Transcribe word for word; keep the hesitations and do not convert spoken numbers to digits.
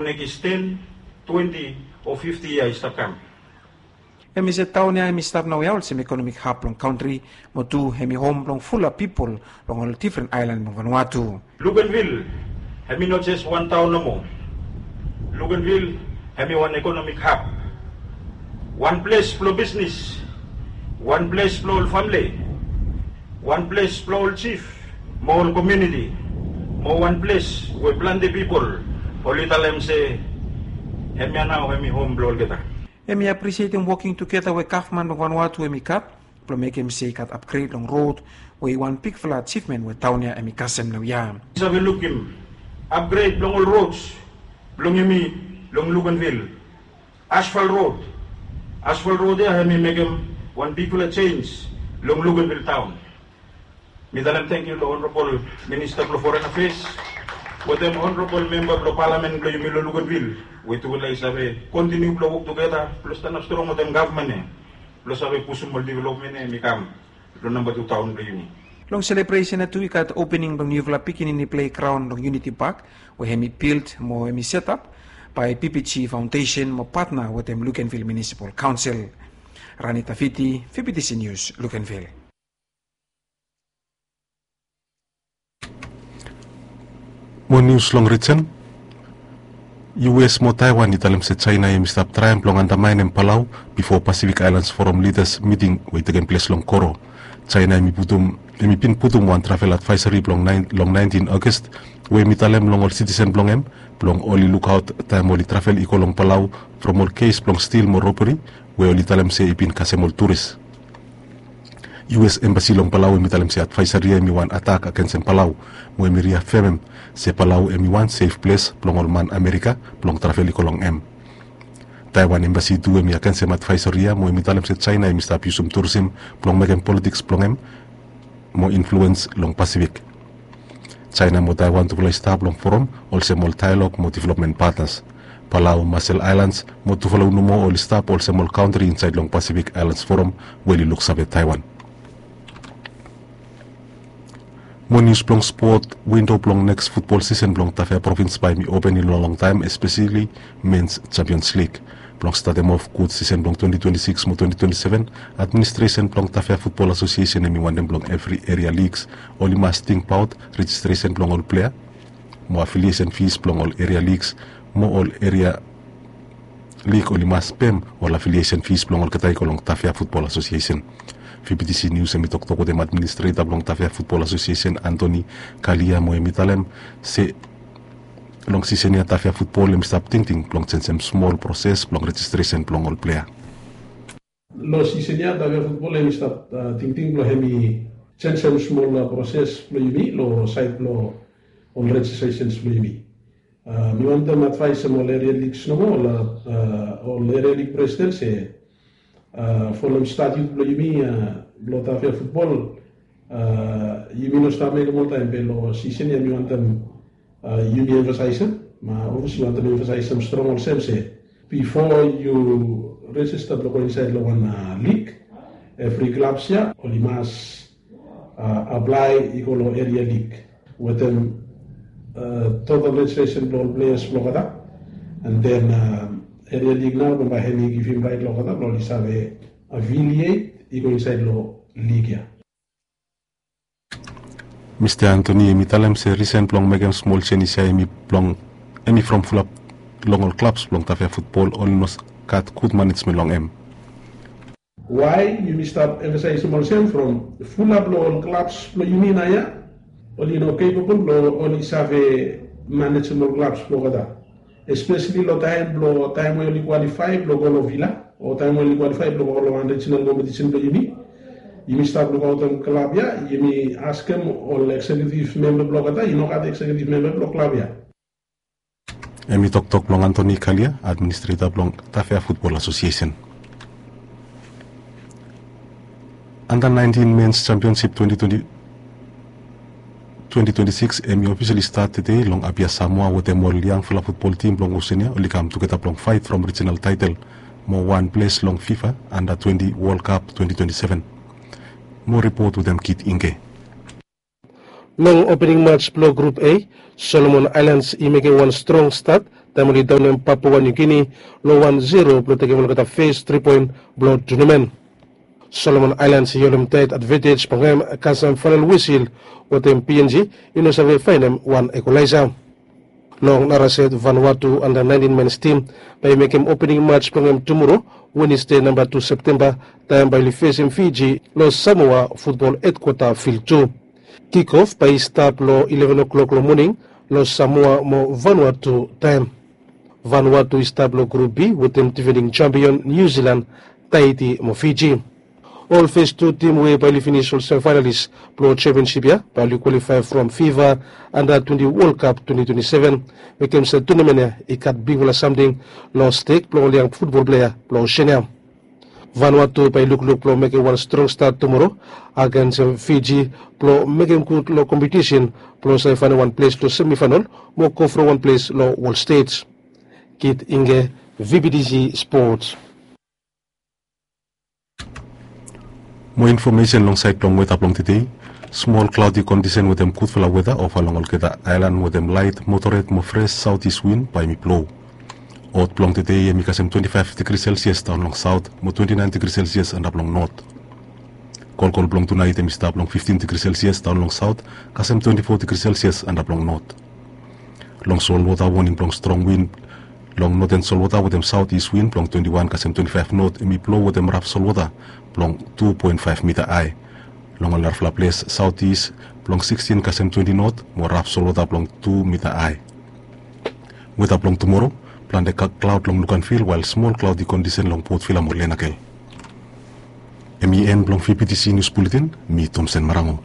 Nekis ten, twenti o fifti yia i stap kam. Hemi se taon ya hemi stap naoia olsem ekonomik hab blong kantri, mo tu hemi hom blong fulap pipol long ol difren aelan blong Vanuatu. Luganville hemi no jes wan taon nomo. Luganville hemi wan ekonomik hab, wan ples blong bisnis, wan ples blong ol famle, wan ples blong ol jif mo ol komuniti, mo wan ples we plante pipol oli talem se hemia nao hemi hom blong olgeta. Hemi aprisietem woking tugeta we gavman blong Vanuatu hemi gat blong mekem se i gat apgred long rod, we i wan bigfala ajivmen we taon ya hemi kasem naoia. Save lukim apgred blong ol rods blong yumi long Luganville. Asfal rod, asfal rod ya hemi mekem wan bigfala jenj long Luganville taon. Mi talem tangkiu long Honorabol Minista blong Foren Afeas wetem Honorabol Memba blong Palamen blong yumi long Luganville, we tufala i save kontiniu blong wok tugeta blong stanap strong wetem gavman ya blong save pusum ol developmen ya hemi kam long namba tu taon blong yumi. Long selebresen ya tu i gat opening blong niufala pikinini plegraon long Unity Park, we hemi bild mo hemi setap bae P P G Foundation mo patna wetem Luganville Municipal Council. Rani Tafiti, V P T C News, Luganville. Mo nius long rijen. U S mo Taiwan i talem se Jaena hemi stap traem blong andamaenem Palau bifo Pacific Islands Forum Leaders miting we i tekem ples long Koro. Jaena hemi putum, hemi bin putum wan travel advaesari blong naen, long naentin August, we hemi talem long ol sitisen blong hem blong oli lukaot taem oli travel i go long Palau from ol kes blong stil mo roberi we oli talem se i bin kasem ol turis. U S Embasi long Palau hemi talem se advaesari ya hemi wan atak agensem Palau, mo hemi riafemem se Palau hemi wan sef ples blong ol man Amerika blong travel i go long hem. Taiwan Embasi tu hemi agensem advaesari ya, mo hemi talem se Jaena hemi stap yusum turisim blong mekem politiks blong hem mo influens long Pasifik. Jaena mo Taiwan tufala i stap long forum olsem ol daelog mo developmen patnas. Palau, Marshall Islands mo Tuvalu nomo oli stap olsem ol kantri insaed long Pacific Islands Forum we oli luksave Taiwan. Mo nius blong spot, windo blong neks futbol sisen blong Tafea provins bae hemi open i no longtaem, espeseli Men's Champions League. Blong statem of gud sisen blong twenti twenti sikis mo twenti twenti seven, administresen blong Tafea Futbol Asosiesen hemi wantem blong evri eria ligs oli mas tingbaot rejistresen blong ol plea mo afiliesen fis blong ol eria ligs, mo ol eria lig oli mas pem ol afiliesen fis blong olgeta i go long Tafea Futbol Asosiesen. V P T C Nius hemi toktok wetem administreta blong Tafea Futbol Asosiesen, Anthony Kalia, mo hemi talem se long sisen ya Tafea Futbol hemi stap tingting blong jenjem smol proses blong rejistresen blong ol plea. Long sisen ya Tafea Futbol hemi stap, a, tingting blong hemi jenjem smol, a, proses blong yumi long saed blong ol rejistresens blong yumi. A, mi wantem advaesem ol eria ligs nomo, ol, a, ol eria lig presiden se, a, folem statiut blong yumi, a, blong Tafea Futbol, a, yumi no stap mekem oltaem, be long sisen ya mi wantem, a, yumi emfasaesem, mo obvious mi wantem emfasaesem strong olsem se bifo yu rejista blong go insaed long wan, a, lig, evri klabs ya oli mas, a, aplae i go long eria lig wetem, a, total rejistresen blong ol pleas blong olgeta. And then, a, eria lig nao bambae hemi givim raet long olgeta blong oli save afiliet i go insaed long lig ya. Mista Anthony hemi talem se risen blong mekem smol jenis ya hemi blong, hemi from fulap long ol klabs blong Tafea Futbol oli no gat gud manejmen long hem. Wae yumi stap emfasaesem olsem, from fulap long ol klabs blong yumi naoia oli no capable blong oli save manejem ol klabs blong olgeta. Espeseli long taem blong, taem we oli kwalifae blong go long vila, o taem we oli kwalifae blong go long wan rejinal kompetisen blong yumi. Yumi stap lukaotem klab ya, yumi askem ol eksekiutiv memba blong olgeta, i no gat eksekiutiv memba blong klab ya. Hemi toktok blong Anthony Kalia, administreta blong Tafea Futbol Asosiesen. Anda naentin Men's Championship twenti twenti, twenti twenti sikis hemi ofisali stat tede long Apia, Samoa, wetem ol yangfala futbol tim blong Osenia oli kam tugeta blong faet from rijinal taetel mo wan ples long FIFA Anda twenti World Cup twenti twenti seven. Mo ripot wetem Kit Ingke. Long opening mats blong Grup A, Solomon Aelans i mekem wan strong stat Taem oli daonem Papua New Guinea long wan zero blong tekem olgeta fes tri poen blong tunamen. Solomon Aelands i holem taet advantage blong hem kasem faenal wisil wetem P N G i no save faenem wan ekolaesa. Long nara set, Vanuatu anda naentin mens tim bae i mekem opening mats blong hem tumoro, Wenesde namba tu Septemba, taem bae oli fesem Fiji long Samoa futbol hedkwata fil tu. Kikof bae i stap long ileven o'clock long moning long Samoa mo Vanuatu taem. Vanuatu i stap long grup B wetem difening jampion Niu Silan, Taiti mo Fiji. Ol fes tu tim we bae oli finis ol semifaenalis blong championship ya bae oli kwalifae from FIFA anda twenti World Cup twenti twenti seven. Mekem se tunamen ya i gat bigfala samting long stek blong ol yang futbol plea blong Oseania. Vanuatu bae i lukluk blong mekem wan strong stat tumoro agens Fiji blong mekem gud long kompetisen blong save faenem wan ples long semifaenal mo go from wan ples long World Stage. Kit Inge, V B T C Sports. Mo infomesen long saed blong weta blong tede. Smol klaodi kondisen wetem gudfala weta ova long olgeta aelan wetem laet, moderet mo fres saotis win bae hemi blo. Ot blong tede hemi kasem twenti faef digri selsias daon long saot mo twenti naen digri selsias antap long not. Kolkol blong tunaet hemi stap long fiftin digri selsias daon long saot kasem twenti fo digri selsias antap long not. Long solwota, woning blong strong win long noten solwota wetem saotis win blong twenti wan kasem twenti faef not hemi blo wetem raf solwota blong tu poen faef mita ae. Long ol narafala ples, saotis blong sikstin kasem twenti not mo raf solwota blong tu mita ae. Weta blong tumoro, plante klaod long Luganville wael smol klaodi kondisen long Port Vila mo Lenakel. Hemi en blong V B T C Nius Buletin. Mi Tomsen Marango.